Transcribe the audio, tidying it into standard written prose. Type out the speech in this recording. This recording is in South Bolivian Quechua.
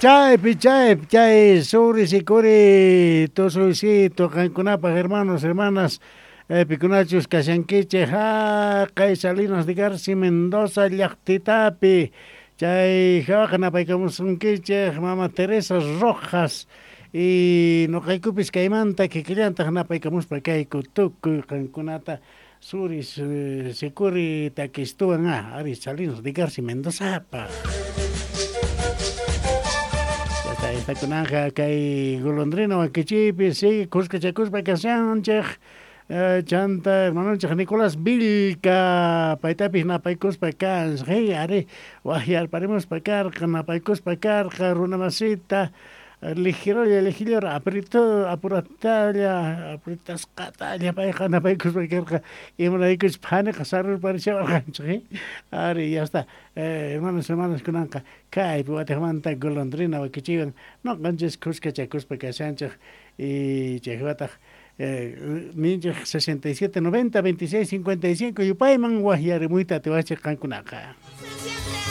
Chaypi, chaypi, chay suri sikuri tusuysito qankunapaj hermanos, hermanas, pikunachus kashankichej jaqay Salinas de Garci Mendoza llajtitapi. Chay jawaqa napaykamusunkichej mama Teresa Rojas y noqaykupis kaymanta kikillantaj napaykamuspa kayku tukuy qankunata suris sikuri takistuwan ari Salinas de Garci Mendozapaj. Ya está, esta kunanja kay golondrina wakichiypi sigue kuskachakuspa kashanchej. Chanta hermanonchej Nicolás Vilca paytapis napaykuspa kanchej hey, ari wajyarparimuspa karqa napaykuspa karqa runamasita ligerolla ligerolla aprito apuratalla apretasqatalla payqa napaykuspa karqa imaraykuchus phaniqa sarurparishawarqanchej ari ya está hermanos hermanas kunanqa kaypi watejmanta golondrina wakichiywan noqanchis kuskachakuspa kashanchej y chaywataj ninchej 67 90 26 55 yupayman wajyarimuyta atiwachej qankunaqa.